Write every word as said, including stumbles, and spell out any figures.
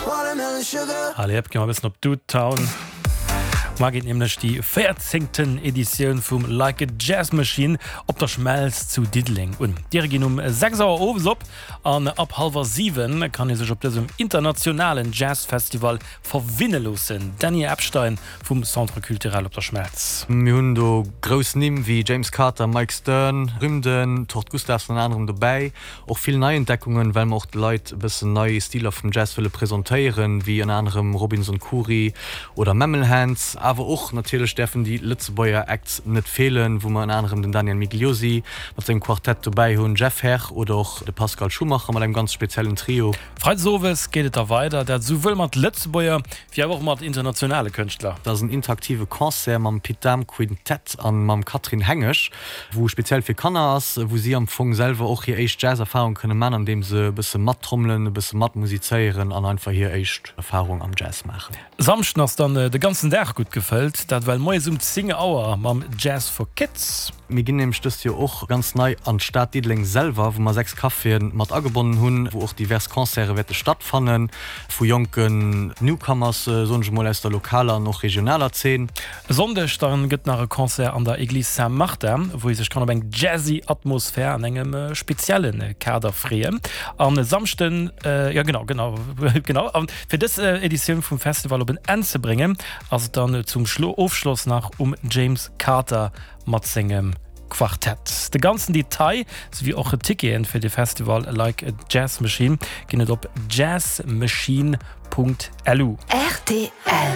Allez, gi mer e bëssen op Dude Town. Mar geet nämlech déi véierzéngten Editioun vum Like a Jazz Machine op der Schmelz zu Diddeleng un. D'Diere ginn um sechs Auer owes op an ab hallwer siwen kann ee sech op dësem internationalen Jazzfestival verwinne loossen. Dany Epstein vum Centre Culturel op der Schmelz. Mir hunn do grouss Nimm wéi James Carter, Mike Stern, Rymden, Tord Gustavsen ënner anerem dobäi. Och vill Neientdeckungen, well mer och de Leit e bëssen nei Stiler vum Jazz wëlle presentéieren, wéi ënner anerem Robinson Khoury oder Mammal Hands. Awer och natierlech däerfen déi Lëtzebuerger Acts net feelen, wou mer ënner anerem den Daniel Migliosi mat sengem Quartett dobäi hunn, Jeff Herr oder och de Pascal Schumacher mat engem ganz speziellen Trio. Freides owes geet et da weider, dat souwuel mat Lëtzebuerger wéi awer och mat internationale Kënschtler. Dat ass en interaktive Concert mam Pit Dahm Quintett an mam Catherine Hengesch, wou speziell fir Kanner ass, wou si am Fong selwer och hir éischt Jazz-Erfarung kënne man, andeem se e bësse mattrommelen, e bësse matmusizéieren an einfach hir éischt Erfarung am Jazz maachen. Samschden ass dann de ganzen Dag gutt gefëllt, dat well moies um zéng Auer mam Jazz for Kids. Mir ginn nämlech dëst Joer och ganz nei an d'Stad Diddeleng selwer, wou mer sechs Caféen mat agebonnen hunn, wou och divers Concerte wäerte stattfannen, vu jonken Newcomers, soen ech emol, aus der lokaler an och regionaler Zeen. E Sonndeg dann gëtt nach e Concert an der Église Saint-Martin, wou ee sech kann op eng jazzy Atmosphär an engem spezielle Kader freeën. An e Samschden, jo genau, genau, genau, an fir dës Editioun vum Festival op en Enn ze bréngen, ass et dann zum Ofschloss nach um James Carter mat sengem Quartett. De ganzen Detail souwéi och Ticketen fir de Festival Like a Jazz Machine ginn et op jazzmachine Punkt lu. Rtl.